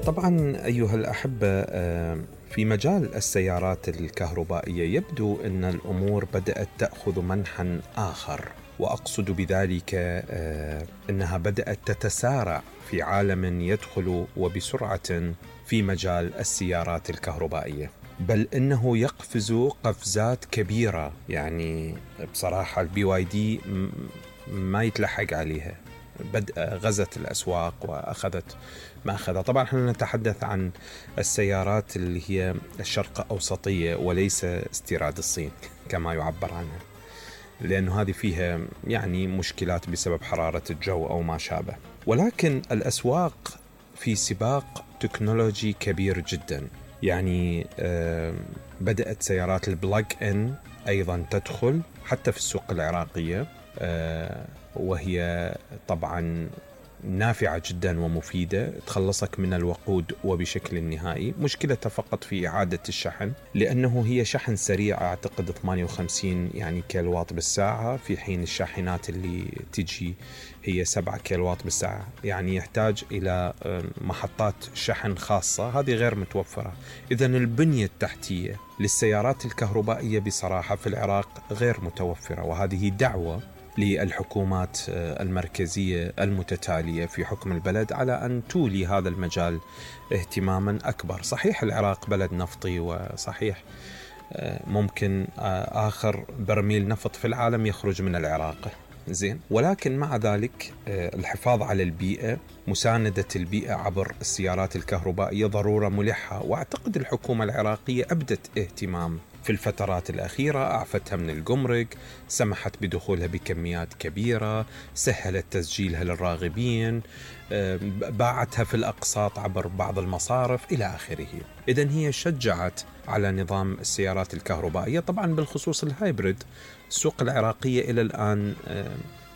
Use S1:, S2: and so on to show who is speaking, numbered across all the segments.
S1: طبعا أيها الأحبة، في مجال السيارات الكهربائية يبدو أن الأمور بدأت تأخذ منحا آخر، وأقصد بذلك أنها بدأت تتسارع في عالم يدخل وبسرعة في مجال السيارات الكهربائية، بل إنه يقفز قفزات كبيرة. يعني بصراحة البي واي دي ما يتلحق عليها، غزت الأسواق وأخذت ما أخذها. طبعا احنا نتحدث عن السيارات اللي هي الشرق أوسطية وليس استيراد الصين كما يعبر عنها، لأنه هذه فيها يعني مشكلات بسبب حرارة الجو أو ما شابه. ولكن الأسواق في سباق تكنولوجي كبير جدا. يعني بدأت سيارات البلاج إن أيضا تدخل حتى في السوق العراقية، وهي طبعا نافعة جدا ومفيدة، تخلصك من الوقود وبشكل نهائي. مشكلتها فقط في إعادة الشحن، لأنه هي شحن سريع، أعتقد 58 يعني كيلوات بالساعة، في حين الشاحنات اللي تجي هي 7 كيلوات بالساعة. يعني يحتاج إلى محطات شحن خاصة، هذه غير متوفرة. إذن البنية التحتية للسيارات الكهربائية بصراحة في العراق غير متوفرة، وهذه دعوة للحكومات المركزية المتتالية في حكم البلد على أن تولي هذا المجال اهتماما أكبر. صحيح العراق بلد نفطي، وصحيح ممكن آخر برميل نفط في العالم يخرج من العراق، زين، ولكن مع ذلك الحفاظ على البيئة، مساندة البيئة عبر السيارات الكهربائية ضرورة ملحة. وأعتقد الحكومة العراقية أبدت اهتمام في الفترات الأخيرة، أعفتها من الجمرك، سمحت بدخولها بكميات كبيرة، سهلت تسجيلها للراغبين، باعتها في الأقساط عبر بعض المصارف إلى آخره. إذن هي شجعت على نظام السيارات الكهربائية. طبعا بالخصوص الهايبريد، السوق العراقية إلى الآن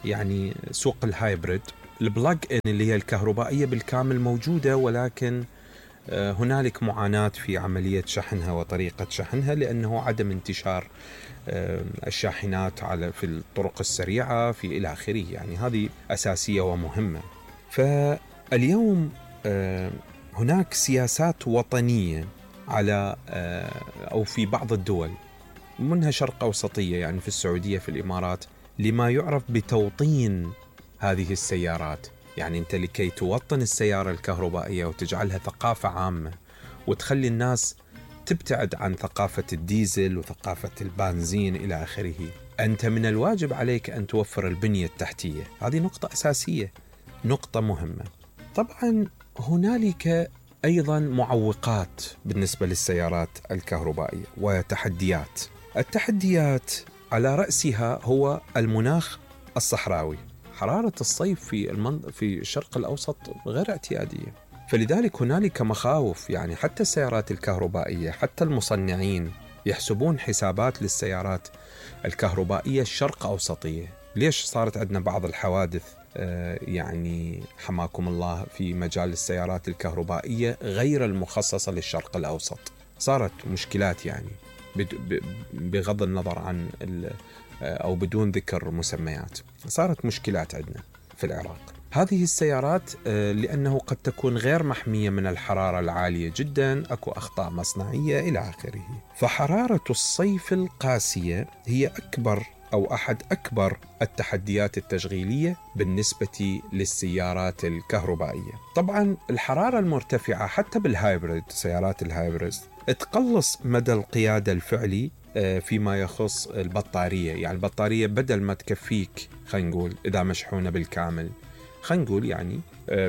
S1: يعني سوق الهايبريد، البلاج إن اللي هي الكهربائية بالكامل موجودة، ولكن هنالك معاناة في عملية شحنها وطريقة شحنها، لأنه عدم انتشار الشاحنات في الطرق السريعة في إلى آخره. يعني هذه أساسية ومهمة. فاليوم هناك سياسات وطنية على أو في بعض الدول منها شرق أوسطية، يعني في السعودية، في الإمارات، لما يعرف بتوطين هذه السيارات. يعني أنت لكي توطن السيارة الكهربائية وتجعلها ثقافة عامة، وتخلي الناس تبتعد عن ثقافة الديزل وثقافة البنزين إلى آخره، أنت من الواجب عليك أن توفر البنية التحتية. هذه نقطة أساسية، نقطة مهمة. طبعا هنالك أيضا معوقات بالنسبة للسيارات الكهربائية وتحديات. التحديات على رأسها هو المناخ الصحراوي. حرارة الصيف في الشرق الأوسط غير اعتيادية، فلذلك هنالك مخاوف. يعني حتى السيارات الكهربائية، حتى المصنعين يحسبون حسابات للسيارات الكهربائية الشرق أوسطية. ليش صارت عندنا بعض الحوادث يعني حماكم الله في مجال السيارات الكهربائية غير المخصصة للشرق الأوسط؟ صارت مشكلات، يعني بغض النظر عن أو بدون ذكر مسميات، صارت مشكلات عندنا في العراق. هذه السيارات لأنه قد تكون غير محمية من الحرارة العالية جدا، أكو أخطاء مصنعية إلى آخره. فحرارة الصيف القاسية هي أكبر أو أحد أكبر التحديات التشغيلية بالنسبة للسيارات الكهربائية. طبعا الحرارة المرتفعة حتى بالهايبريد، سيارات الهايبريد، تقلص مدى القيادة الفعلي فيما يخص البطارية. يعني البطارية بدل ما تكفيك، خلينا نقول إذا مشحونة بالكامل، خلينا نقول يعني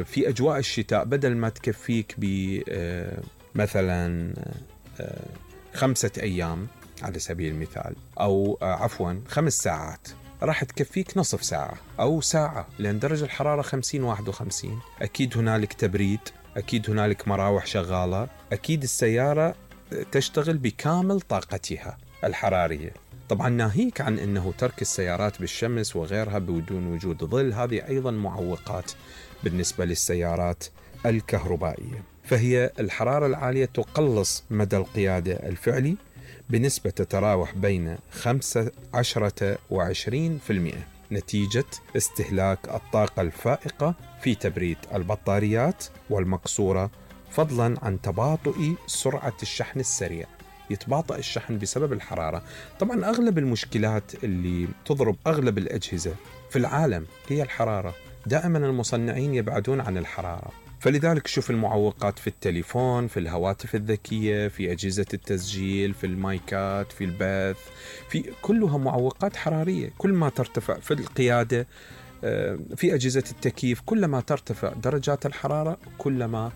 S1: في أجواء الشتاء، بدل ما تكفيك مثلا 5 أيام على سبيل المثال، أو عفوا 5 ساعات، راح تكفيك نصف ساعة أو ساعة، لأن درجة الحرارة 50-51. أكيد هنالك تبريد، أكيد هنالك مراوح شغالة، أكيد السيارة تشتغل بكامل طاقتها الحرارية. طبعا ناهيك عن أنه ترك السيارات بالشمس وغيرها بدون وجود ظل، هذه أيضا معوقات بالنسبة للسيارات الكهربائية. فهي الحرارة العالية تقلص مدى القيادة الفعلي بنسبة تتراوح بين 15 و20% نتيجة استهلاك الطاقة الفائقة في تبريد البطاريات والمقصورة فضلا عن تباطؤ سرعة الشحن السريع. يتباطأ الشحن بسبب الحرارة. طبعا أغلب المشكلات اللي تضرب أغلب الأجهزة في العالم هي الحرارة. دائما المصنعين يبعدون عن الحرارة، فلذلك شوف المعوقات في التليفون، في الهواتف الذكية، في أجهزة التسجيل، في المايكات، في البث، في كلها معوقات حرارية. كل ما ترتفع في القيادة، في أجهزة التكييف، كلما ترتفع درجات الحرارة كلما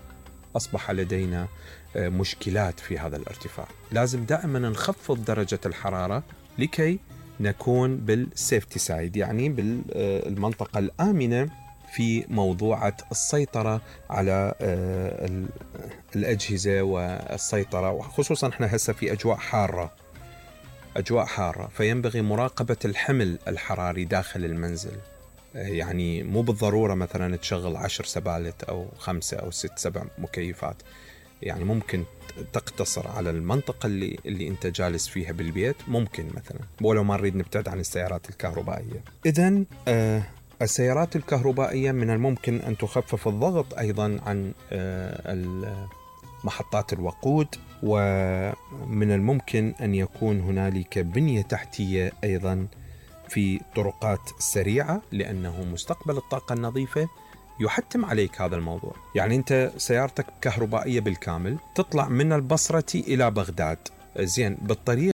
S1: أصبح لدينا مشكلات في هذا الارتفاع. لازم دائما نخفض درجة الحرارة لكي نكون بالسيفتي سايد، يعني بالمنطقة الآمنة في موضوعة السيطرة على الأجهزة والسيطرة، وخصوصا احنا هسه في أجواء حارة، فينبغي مراقبة الحمل الحراري داخل المنزل. يعني مو بالضرورة مثلا تشغل 10 سبالت أو 5 أو 6 7 مكيفات، يعني ممكن تقتصر على المنطقة اللي أنت جالس فيها بالبيت، ممكن مثلا، ولو ما نريد نبتعد عن السيارات الكهربائية. إذن السيارات الكهربائية من الممكن أن تخفف الضغط أيضا عن محطات الوقود، ومن الممكن أن يكون هنالك بنية تحتية أيضا في طرقات سريعة، لأنه مستقبل الطاقة النظيفة يحتم عليك هذا الموضوع. يعني أنت سيارتك كهربائية بالكامل، تطلع من البصرة إلى بغداد، زين بالطريق